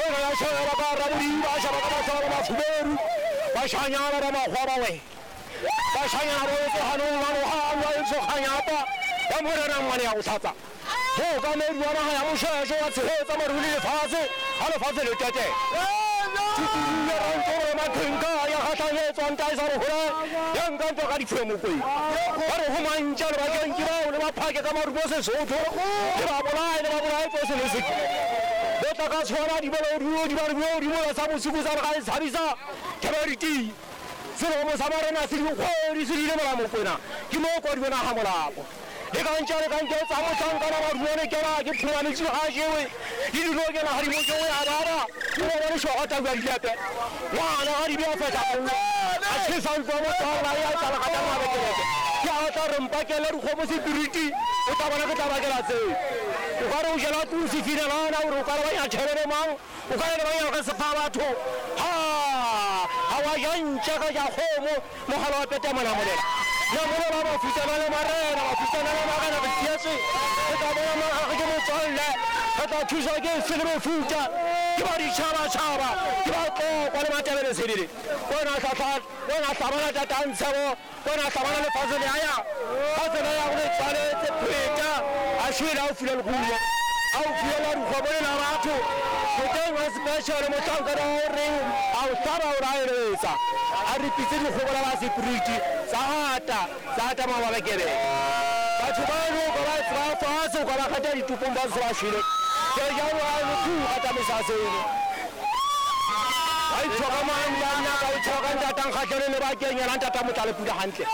Wena ya sheba ka rabodiba, a sheba ka mahlo a mafuberu, bashanyana ba makgowa ba we. Bashanyana ba wetse ganong la noga, wa etsho kganyapa ya morena ngwane ya go tlhatsa. Mookamedi wa naga ya mošwešo wa tshegetsa maru le lefatshe ga lefatshe le tete. Tshukudu ya rantoro mathenka ya gahlanyetswa nta e sa re gola ya nka ntwa ka diphule mokweng. Ba re go mantša le bakeng ke bao le ba phake ka marumo Sesotho le ba bolaye le ba bolaye tsohle le seke. Bo tla ka tshwana di bolo di ba di di mola sa bosigo sa re ga e tshabisa thebe di tii. Selomo sa marena se dikgwedi se rile mola Mokwena ke mo kwa di bona ga molapo. Le ka ntša le ka nketsa mohlankana maruane kena ke phumametsi ga jewe le dilo kena ga di mo jewe a baba o bona lešoga tau ya dilepe ngwana ga di bea fehla a tšhesa ntlo motswala ya tlala ga tla mabekeleke ke a tla re mpakele dikgomo sepiriti o tla bona ke tla bakela tseo o ka re o jela tlong sefinelana gore o ka re ba ya tšhelele mang o ka re ba ya ge sefa batho ha ga wa ja ntša ka ja kgomo Mogala wa peta Monamolela. Namolela mafutsana le marena, mafutsana le marena re tsietswe. Re tla bona magage ke motswalle, re tla thuswa ke se le mefuta, ke ba ditšhabatšhaba, ke ba tlokwa le Matebele Sebele. Wena hlahla, wena hlabana tatantshebo, wena hlabana lefatshe le aya, fatshe le ya go le tshwanetse pheta, a shwele a o file lerumo. A o fiela dikgomo le la batho moteng wa special mohlankana wa o reng a o hlaba o ra eletsa a re pitse dikgomo la ba security tsa ata tsa ata mababekebeke batho ba no ka ba tseba fatshe o ka ba kgata ditopong ba se ba shwele ke jalo a le thu kgata mesaseng ba itshoka manna ka itshoka ntatang kgatlhelo le bakeng yena ntata motla le pula hantle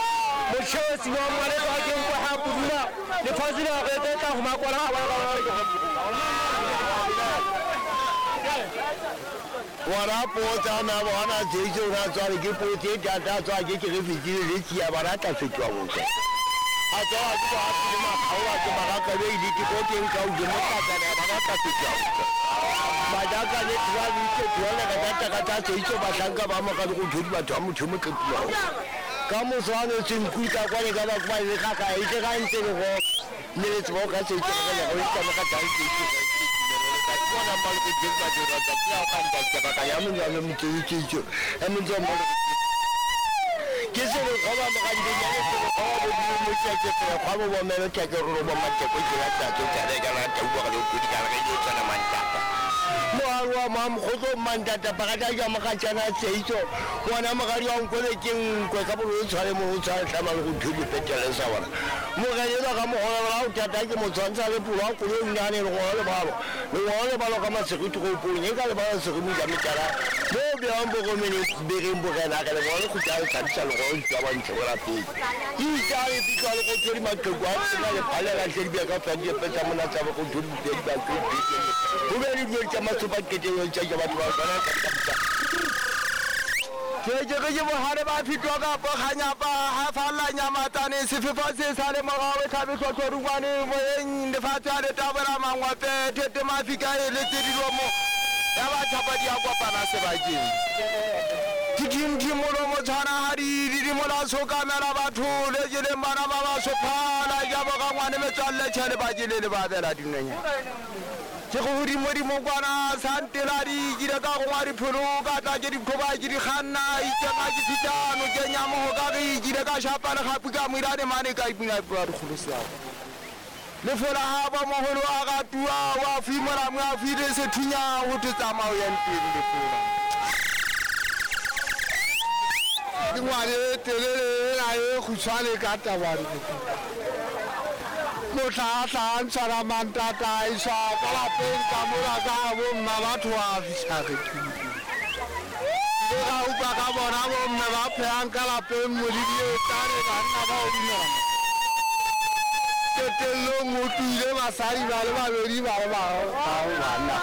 mochesi wa mmaletso a keng kwa ha pudula lefatshe le re tla go makola ga Bona potsa na bona Jesu o na tswale ke potse e tata tswa ke ke re fetile le tsia bona tla fetoa botswa. A tswa ke ba ke makgaola ke magaka be ile ke ko teng ka uje mo tlatsana bona tla fetoa botswa. Majaka le tswa le itse tswale ka tata ka tsa itse bahlanka ba mo ka go thodi batho ba motho mo tlepiwa. Ka moswane se nkuta kwa le ka ba kwa le ga ga itse ga ntse le go mme le tsebo ka se itse go le go itse ka tsa itse bona ba le go ba dira tsa ya ka nda ka ba ya mo ya mo tse itse itse ya mo tse mo ke se le go ba mo ga ndi ya se go ba bo mo tse tse go ba bo me le tse ro bo ma tse ko ke ya tsa tse tsa ka la tsa bua ka le go di ka re yo tsana mantata moalu wa mamokgotlo mantata pakata ja mogatšana seitso ngwana mogadi wa nkole ke nkwe ka bolo o tshware mo o tshware tlhama le go thuli petele sa bona mogelelwa ka mogolabala o thata ke motshwantsha le polo a koloi nnyane lengolo le balo lengolo le balo ka masegiti go pong e ka lebala segimo ja metala mo beang bokomene bereng bogena ge lengolo le khutla le tlhabisa lengolo le tswa bantle go lapeng itsa le fitlwa le go thodi maqheku a tsena le phalela tle di ka fa di petsa mona tsa go thodi di ba go go be le dilo tsa matsopa keteng tsa batho ba bana ka ke ke ke bohare ba fitwa ka poganyapa ha falla nyamatsane sefefo se sa le morao e tlhabe tlhotlhorungwane moyeng lefatshe a le tabola mangwape thete mafika e le tse dilomo ya batho ba di a kopana sebakeng dithimthimolo motshwana ga di didimola sokamela batho le jeleng bana ba ba sophala jabo ka ngwane metswalle tšhele ba jele le ba bela dinonyana ke go godimodimo kwana santeladi ke ile ka gongwa dipholo ka tla ke dikgoba ke di kganna itsenga ke fihla nokeng ya mogo ka ge ke ile ka šapa legapu ka moirane mane ka ipina pua dikgolo seago lefola ga ba mogolo a ga tua wa fimola mo a file sethunya go thwe tsamao ya ntweng lefola ke ngwane e telele ela e khutshwane ka tabane motlha a ntshwara mantata a iswa ka lapeng ka mola ka bomma batho ba fitlha re le ga utlwa ka bona bomme ba phehang ka lapeng modidi e tane banna ba o dumela qetellong o tlile basadi ba le babedi ba le banna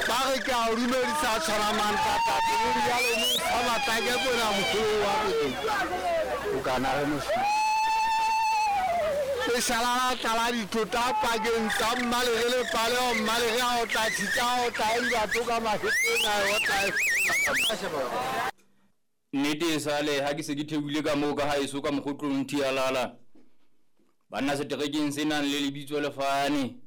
ba re ke a o dumedisa tshwara mantata jalo mo sa matlake kona mogolo wa pele o kana re mošomo leshala la tlala dithota pakeng tsa mmalege le paleo mmalege a otla tshitsa a otla e dibatho ka mahetleng a otla Nnete e sale ha ke se ke theohile ka moo ka haeso ka mokgotlong Thialala. Banna seterekeng se nang le lebitso le fane.